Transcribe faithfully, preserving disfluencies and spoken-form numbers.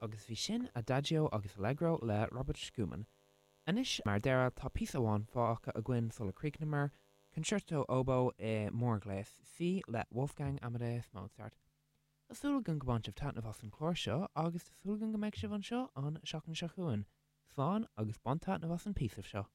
Agus bhí sin Adagio agus Allegro le Robert Schumann. Anois mar dheireadh tá píosa amháin fágtha againn sula gcríochnóimid Concerto Oboe i mórghléas C le Wolfgang Amadeus Mozart. Tá súil agam gur bhain sibh taitneamh as an chlár seo agus tá súil agam go mbeidh sibh anseo an seachtain seo chugainn. Slán agus bain taitneamh as an píosa seo.